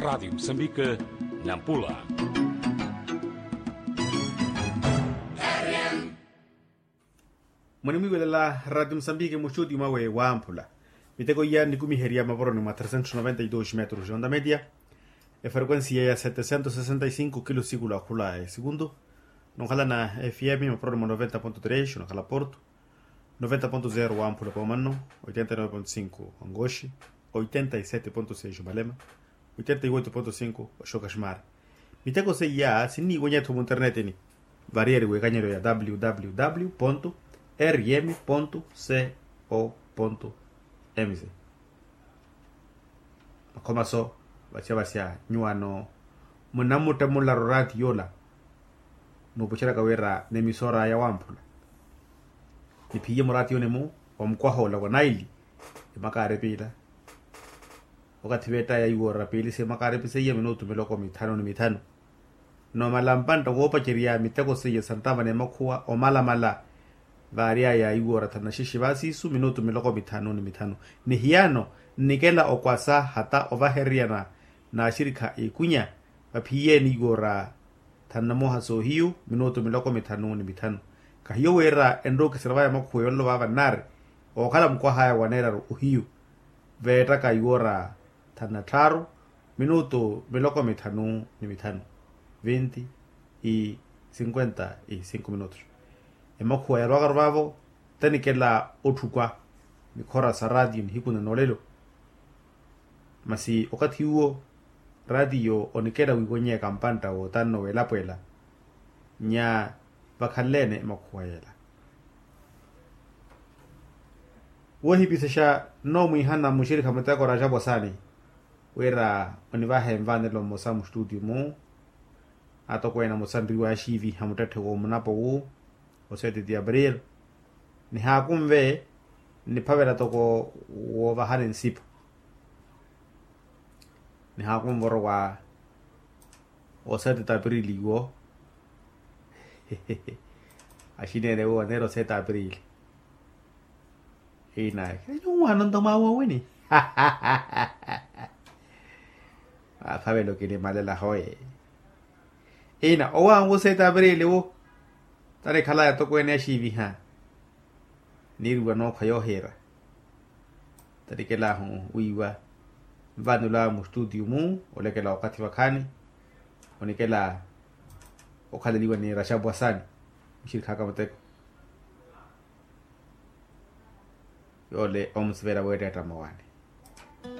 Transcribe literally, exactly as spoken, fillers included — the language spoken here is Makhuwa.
Radiyo musambike, nampula. Munimwiiwelela radiyo musambike muxuti mwawe wamphula. Miteko iya nikumiherya maporoni mwa tresentos noventa y dos metros ya onda media. Efrequencia ya setecientos sesenta y cinco kilo siku la khula esikuntu. Nonkhala na fm maporoni mwa noventa ponto tres onakhala porto, noventa ponto zero wamphula pomanno, oitenta y nove ponto cinco wangoxi, oitenta y sete ponto seis omalema, oitenta y oito ponto cinco oxoka ximari. Miteko seiya sinniiwanya-tho munternetini. Variyari wekanyeryo ya www rm co mz. Makhomaso vasya vasya nyuwano munamuttemularo rati yola. Nuupuxeryaka wira nemisora yawamphula niphiye murati yone-mu, omukwaha ola wa naili. Emakaari piila okathi veettaya iwora piili se emakaari piseiye minutu miloko mithanu ni mithanu. Nomala mpantta woopacerya miteko seiye santtava n'emakhuwa omalamala. Vaaryaya iwora thanu na xixi vaasiisu minutu miloko mithanu ni mithanu. Ni hiyano nnikela okwasa hata ovahereryana n'axirikha ikunya. Vaphiyeeni iwora thanu na muha soohiyu minutu miloko mithanu ni mithanu. Kahiyo wira enrookisira vaya makhuwa yololo vaava nnaari ookhala mukwahaya waneeraru ohiyu. Veettaka iwora thanu na tthaaru minutu miloko mithanu ni mithanu. Vinti i sinkwenta i sinku minutu. Emakhuwa yarwakaru vaavo tanikela otthukwa nikhora sa ratiyo nihiku na noolelo. Masi okathi uwo ratiyo onikela wiiwanyeyaka mpantta wootanno weelapweela nya vakhanle-ene emakhuwa yeela. Woohipisexa nnoomwiihana muxirikha muteko raxapu asaani wira onivahe nvanelo mmosa muxitutiyu-mu. Atokweene amosa nriwaaxiiviha muttetthe woomunapo wu oseteti abril. Nihaakunve nniphavela toko woovahani nsipu. Nihaakunva orowa oseteti abril iwo. Axineene wo oneera oseteti abril. Ina nyuwaano nto mwaawoowini. Aaphavelo kinimalela hoye. Ina owaangu oseteti abril wo tanikhalaya tokweene axiiviha. Niiriwa nookhwa yoohiira tarikelahu wiiwa nvanulaawe muxitutiyu-mu olekela okathi vakhaani. Onikela okhaleliwa ni raxapu asaani muxirikhaka muteko. Yoole omusivela weetteetta mmawaani.